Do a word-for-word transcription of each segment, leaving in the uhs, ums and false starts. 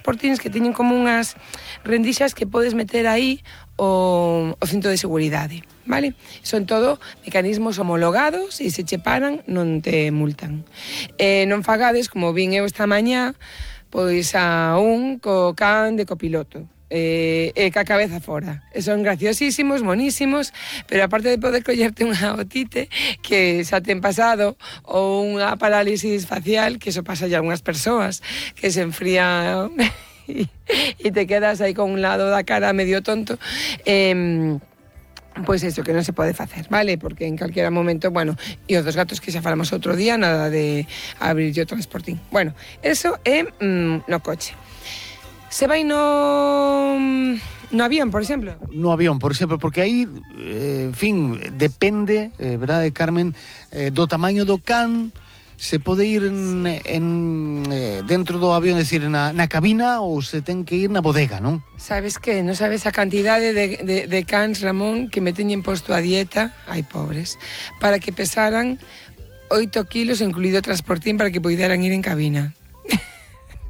transportines que teñen como unhas rendixas que podes meter aí o, o cinto de seguridade, vale? Son todo mecanismos homologados e se che paran non te multan. Eh, non fagades, como vin eu esta mañá, pois a un co can de copiloto. E, e ca cabeza fora. E son graciosísimos, monísimos, pero aparte de poder collerte unha otite que xa ten pasado ou unha parálisis facial, que eso pasa ya a algunhas persoas, que se enfría e, e te quedas aí con un lado da cara medio tonto, eh, pois eso, que non se pode facer, vale? Porque en calquera momento, bueno, e os dos gatos que xa falamos outro día, nada de abrir o transportín. Bueno, eso é mm, no coche. Se vai no no avión, por exemplo? No avión, por exemplo, porque aí, eh, en fin, depende, eh, verdade, Carmen, eh, do tamaño do can, se pode ir en, en, eh, dentro do avión, é dicir, na, na cabina, ou se ten que ir na bodega, non? Sabes que? Non sabes a cantidade de, de, de cans, Ramón, que me teñen posto a dieta, ai, pobres, para que pesaran oito kilos, incluído o transportín, para que poideran ir en cabina.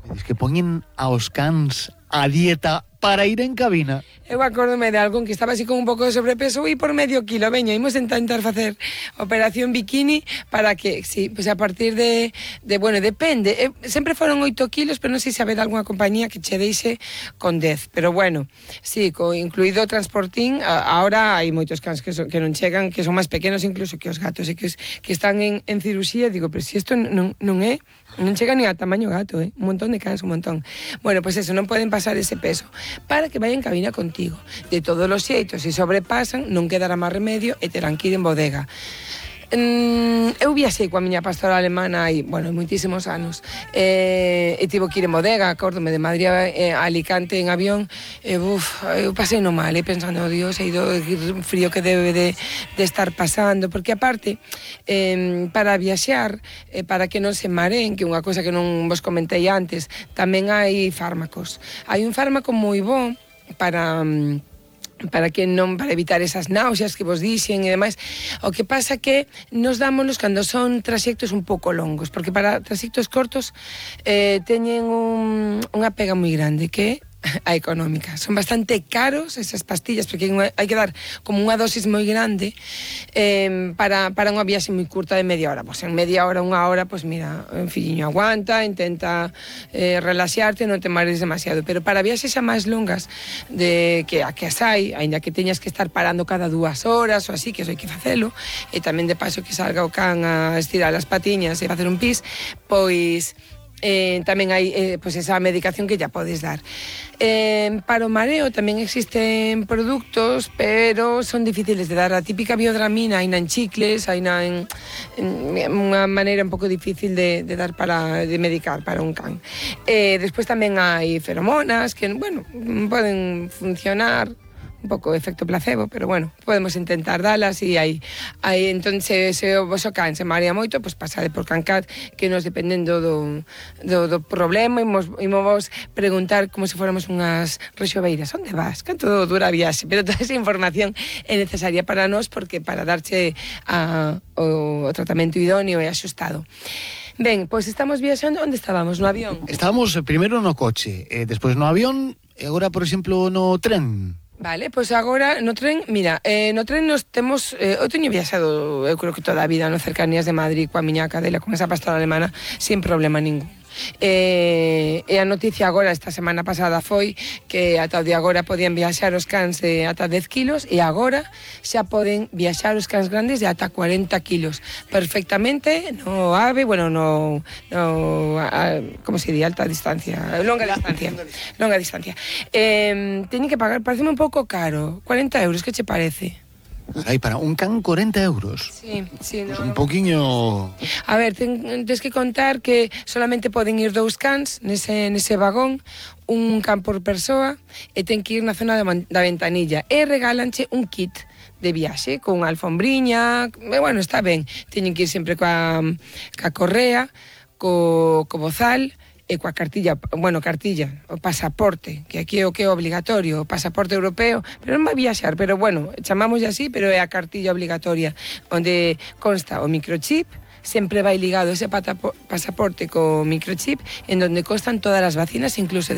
Es que poñen aos cans a dieta para ir en cabina. Eu acórdome de algún que estaba así con un pouco de sobrepeso e por medio kilo, veña, imos intentar facer operación bikini para que, sí, pues a partir de, de bueno, depende, eh, sempre foron oito kilos, pero non sei se habeda algunha compañía que che deixe con dez, pero bueno, sí, co, incluído o transportín, a, ahora hai moitos cans que, son, que non chegan, que son máis pequenos incluso que os gatos, e que, que están en, en cirusía, digo, pero si isto non, non é, non chega ni a tamaño gato, eh? Un montón de cans, un montón. Bueno, pues eso, non poden pasar ese peso, para que vayan en cabina contigo. De todos os xeitos, se sobrepasan, non quedará máis remedio e terán que ir en bodega. Mm, eu viaxei coa miña pastora alemana hai, bueno, moitísimos anos, e, e tivo que ir en bodega, acórdome, de Madrid a, a Alicante en avión, e uf, eu pasei no mal, e pensando, oh, Dios, e o frío que debe de, de estar pasando, porque aparte, eh, para viaxar, eh, para que non se mareen, que unha cosa que non vos comentei antes, tamén hai fármacos. Hai un fármaco moi bo para... para que non para evitar esas náuseas que vos dixen e demais. O que pasa que nos dámonos cando son traxectos un pouco longos, porque para traxectos cortos eh, teñen un, unha pega moi grande, que a económica. Son bastante caros esas pastillas, porque hai que dar como unha dosis moi grande eh, para, para unha viaxe moi curta de media hora. Pois en media hora, unha hora, pois mira, en filliño aguanta, intenta eh, relaxarte, non te mares demasiado. Pero para viaxes xa máis longas, de que a que as hai, ainda que teñas que estar parando cada dúas horas ou así, que eso hai que facelo, e tamén de paso que salga o can a estirar as patiñas e facer un pis, pois... Eh, tamén hai eh, pues esa medicación que ya podes dar. Eh, para o mareo tamén existen produtos, pero son difíciles de dar. A típica biodramina hai na en chicles, hai na en, en unha maneira un pouco difícil de, de dar para de medicar para un can. Eh, despois tamén hai feromonas que, bueno, poden funcionar un pouco efecto placebo, pero bueno, podemos intentar dalas e aí, aí entón se, se o voso can se marea moito, pois pues pasade por Cancat, que nos dependendo do, do, do problema, imos, imos preguntar como se fóramos unhas rexoveiras, onde vas? Canto dura a viaxe? Pero toda esa información é necesaria para nós, porque para darche a, o, o tratamento idóneo e axustado. Ben, pois estamos viaxando, onde estábamos? No avión? Estábamos primeiro no coche, eh, despois no avión, e agora, por exemplo, no tren. Vale, pois agora no tren, mira, eh, no tren nos temos, eh, eu teño viaxado, eu creo que toda a vida no cercanías de Madrid coa miña cadela, con esa pastora alemana, sin problema ningún. E, e a noticia agora, esta semana pasada, foi que ata o de agora podían viaxar os cans de ata dez kilos e agora xa poden viaxar os cans grandes de ata cuarenta kilos perfectamente no AVE, bueno, no, no a, como se di, alta distancia, longa distancia, longa distancia. Eh, teñen que pagar, pareceme un pouco caro, cuarenta euros, que che parece? Carai, para un can corenta euros. Sí, sí, no. Pues un poquinho... A ver, ten, tens que contar que solamente poden ir dous cans nese, nese vagón, un can por persoa, e ten que ir na zona da, da ventanilla. E regálanche un kit de viaxe, con alfombriña, e, bueno, está ben. Teñen que ir sempre coa, coa correa, co, co bozal, e coa cartilla, bueno, cartilla, o pasaporte, que aquí é o que é obligatorio, o pasaporte europeo, pero non vai viaxar, pero bueno, chamamos así, pero é a cartilla obligatoria, onde consta o microchip, sempre vai ligado ese pasaporte co microchip, en donde constan todas as vacinas, incluso